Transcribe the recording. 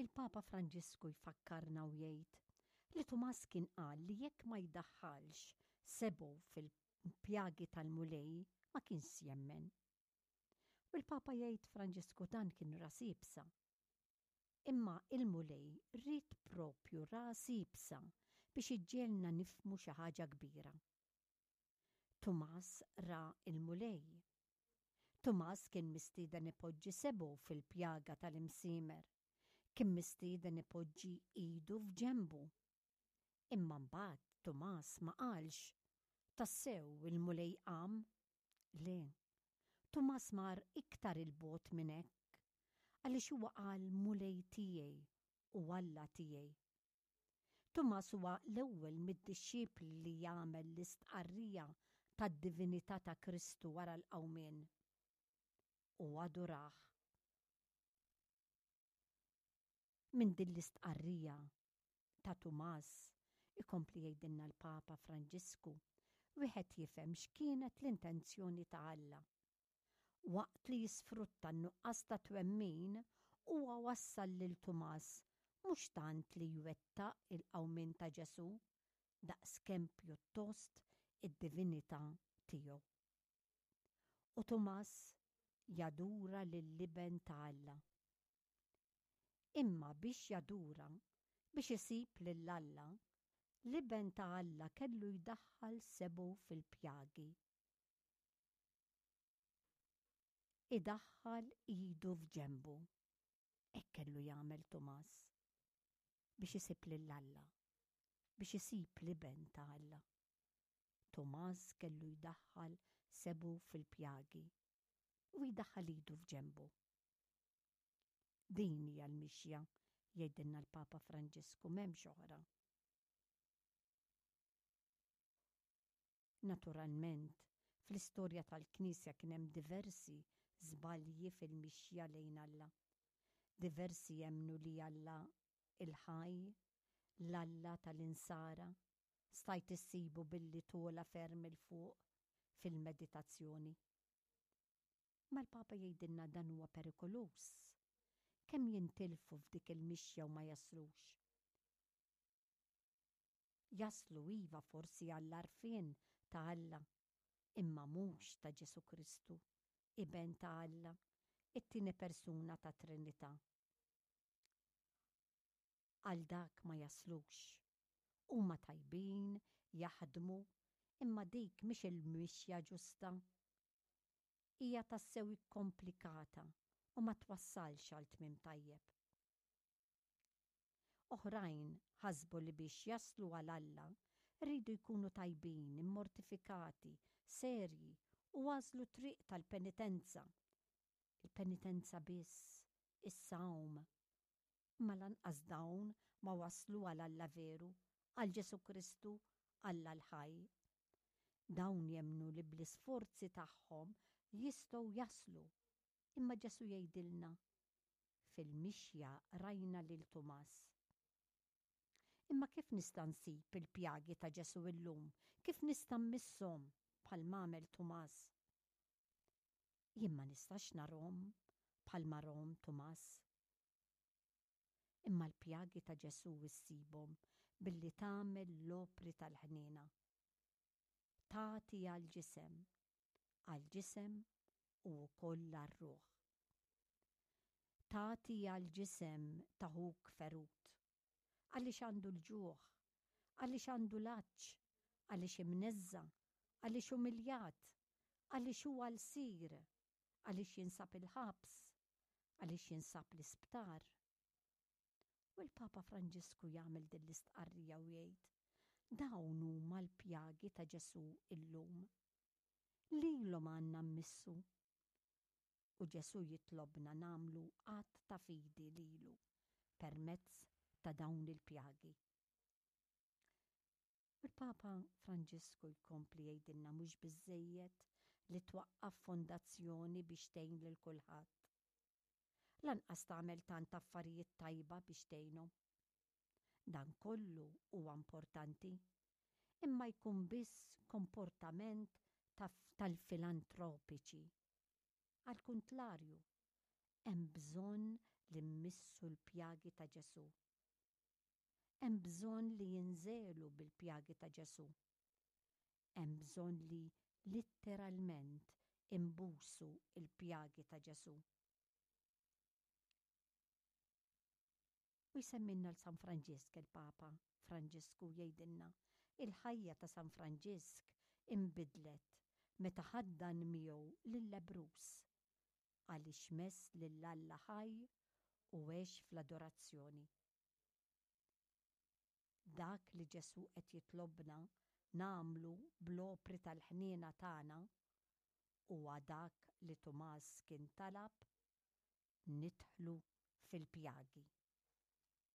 Il-Papa Franġisku jfakkarna u jgħid li Tumas kien qal li jekk ma jdaħħalx sebgħu fil-pjagi tal-Mulej ma kienx jemmen. U l-Papa jgħid Franġisku dan kien ras iebsa. Imma il-Mulej ried propju ras iebsa biex iġġegħelna nifhmu xi ħaġa kbira. Tumas ra l-Mulej. Tumas kien mistieden ipoġġi sebgħu fil-pjaga tal-imsiemer. Kien mistieden ipoġġi idu f'ġenbu. Imma mbagħad Tumas ma qalx, Tassew il-Mulej qam? Le. Tumas mar iktar 'il bogħod minn hekk, għaliex huwa qal Mulej tiegħi u Alla tiegħi. Tumas huwa l-ewwel mid-dixxipli li jagħmel l-istqarrija tad-divinità ta' Kristu wara l-qawmien. U adurah. Minn din l-istqarrija ta' Tumas, ikompli jgħidilna l-Papa Franġisku, wieħed jifhem x'kienet l-intenzjoni ta' Alla. Waqt li jisfrutta n-nuqqas ta' twemmin, huwa wassal lil Tumas mhux tant li jwettaq il-qawmien ta' Ġesù daqskemm pjuttost id-divinità tiegħu. U Tumas jadura lill-Iben ta' Alla. Imma biex jadura, biex isib lil Alla, l-Iben ta' Alla kellu jdaħħal sebgħu fil-pjagi. Idaħħal idu f'ġenbu. Hekk kellu jagħmel Tumas biex isib lil Alla, biex isib l-Iben ta' Alla. Tumas kellu jdaħħal sebgħu fil-pjagi u jdaħħal idu f'ġenbu. Din hija l-mixja, jgħidilna l-Papa Franġisku, m'hemmx oħra. Naturalment, fl-istorja tal-Knisja kien hemm diversi żbalji fil-mixja lejn Alla. Diversi jemmnu li Alla l-ħaj, l-Alla tal-Insara, stajt issibu billi togħla ferm 'il fuq fil-meditazzjoni. Imma l-Papa jgħidilna dan huwa perikoluż. Kemm jintilfu f'dik il-mixja u ma jaslux. Jaslu iva forsi għall-għarfien ta' Alla, imma mhux ta' Ġesù Kristu, Iben ta' Alla, it-tieni persuna tat-Trinità. Għal dak ma jaslux. Huma tajbin, jaħdmu, imma dik mhix il-mixja ġusta. Hija tassew ikkomplikata u ma twassalx għal tmiem tajjeb. Oħrajn ħasbu li biex jaslu għal Alla riedu jkunu tajbin, immortifikati, serji u għażlu t-triq tal-penitenza. Il-penitenza biss, is-sawm. Imma lanqas dawn ma waslu għal Alla veru, għal Ġesù Kristu, Alla l-ħaj. Dawn jemmnu li bl-isforzi tagħhom jistgħu jaslu Imma Ġesù jgħidilna, Fil-mixja rajna lil Tumas. Imma kif nista' nsib il-pjagi ta' Ġesù illum? Kif nista' mmisshom bħalma għamel Tumas? Jien ma nistax narhom bħalma rahom Tumas. Imma l-pjagi ta' Ġesù issibhom billi tagħmel l-opri tal-ħniena. Tagħti għall-ġisem, għall-ġisem u wkoll għar-ruħ. Tagħti għall-ġisem ta' ħuk ferut, għaliex għandu l-ġuħ, għaliex għandu l-għatx, għaliex imneżża', għaliex umiljat, għaliex huwa lsir, għaliex jinsab il-ħabs, għaliex jinsab l-isptar. U l-Papa Franġisku jagħmel din l-istqarrija u jgħid, dawn huma l-pjagi ta' Ġesù illum. Lilhom għandna mmissu. U Ġesù jitlobna nagħmlu att ta' fidi lilu permezz ta' dawn il-pjagi. Il-Papa Franġisku jkompli jgħidilna mhux biżżejjed li twaqqaf fondazzjoni biex tgħin lil kulħadd. Lanqas tagħmel tant affarijiet tajba biex tgħinhom. Dan kollu huwa importanti, imma jkun biss komportament tal-filantropiċi. Għall-kuntlarju, hemm bżonn li mmissu l-pjagi ta' Ġesù. Hemm bżonn li jinżelu bil-pjagi ta' Ġesù. Hemm bżonn li litteralment inbusu l-pjagi ta' Ġesù. U jsemmilna 'l San Franġisk il-Papa Franġisku jgħidilna, Il-ħajja ta' San Franġisk inbidlet meta ħaddan miegħu lil-lebbruż, għaliex mess lil Alla ħaj u għex fl-adorazzjoni. Dak li Ġesù qed jitlobna nagħmlu bl-opri tal-ħniena tagħna huwa dak li Tumas kien talab, nidħlu fil-pjagi.